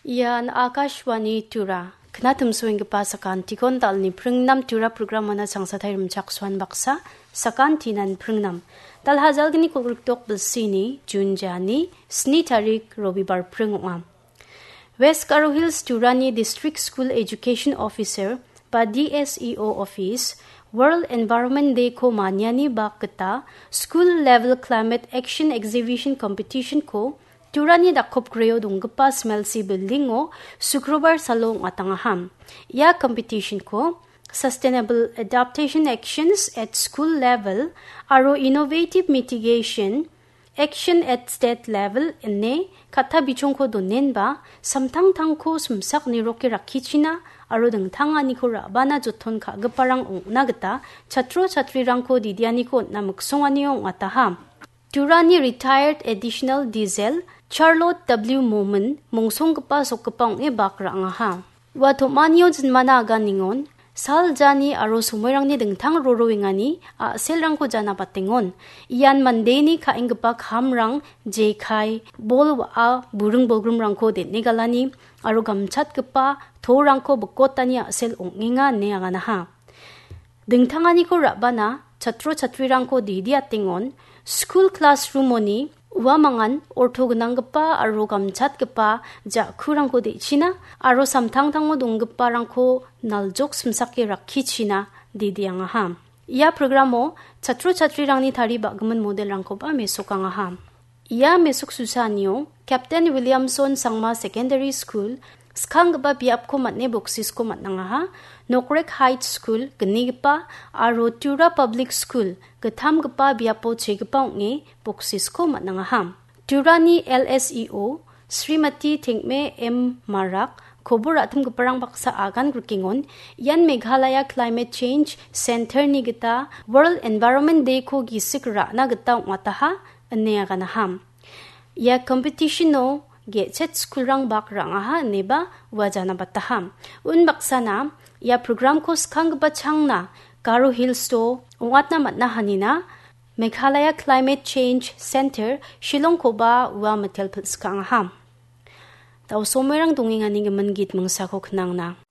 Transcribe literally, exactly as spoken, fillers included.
Ian Akashvani Tura. Knatimsoenggipa sakantikon dalni pringnam Tura programona sangsatai rimchaksoan baksa, sakantinan pringnam. Dalhajalgni kolgrikdok bilsini, Jun jani, sni tarik Robibar pring ong·a. West Garo Hills Turani District School Education Officer ba D S E O Office World Environment Day ko maniani bak gita School Level Climate Action Exhibition Competition ko Turani dakopgreo donggipa Smelsi Building o Sukrobar salo ong·atangaham. Ia competition ko Sustainable Adaptation Actions at School Level aro Innovative Mitigation Action at State Level ine katta bichongko donenba, samtangtangko simsak niroke rakkichina aro dingtanganiko ra·bana joton ka·giparang ong·na gita chatro chatrirangko didianiko on·na miksonganio ong·ataha. Turani retired additional diesel Charlotte W Momin mongsonggipa sokgipa ong·e bak ra·angaha. Ua tom·anio jinmana aganingon, sal jani aro somoirangni dingtang roroengani a·selrangko jana batengon. Ian mandeni ka·enggipa kamrang, jekai, bol wa·a, buring bolgrimrangko den·e galani aro gamchatgipa torangko bikotani a·sel ong·enga ine aganaha. Dingtanganiko ra·bana chatro chatrirangko didi atengon, skul classroom-oni uamangan orto gnanggipa aro gamchatgipa ja·kurangko de·china aro samtangtango donggiparangko naljok simsake rakkichina didiangaha. Ia programo chatro chatrirangni tari ba·gimin modelrangkoba mesokangaha. Ia mesoksusanio Captain Williamson Sangma Secondary School skanggipa biapko man·e boksisko man·angaha, Nokrek High School gnigipa aro Tura Public School gittamgipa biapo chegipa ong·e boksisko man·angaha. Turani L S E O Srimati Tengme M Marak kobor ra·timgiparang baksa agan grikengon, ian Meghalaya Climate Change Center-ni gita World Environment Day-ko gisik ra·na gita ong·ataha ine aganaham. Ia competition-o ge·chet skulrang bak ra·angaha ineba ua jana bataham. Unbaksana ia programko skanggipa changna Garo Hills-o ong·atna man·a hanina Meghalaya Climate Change Center Shillong-koba ua mitel pilsikangaham. Daosomerang dongengani gimin git mingsako knangna.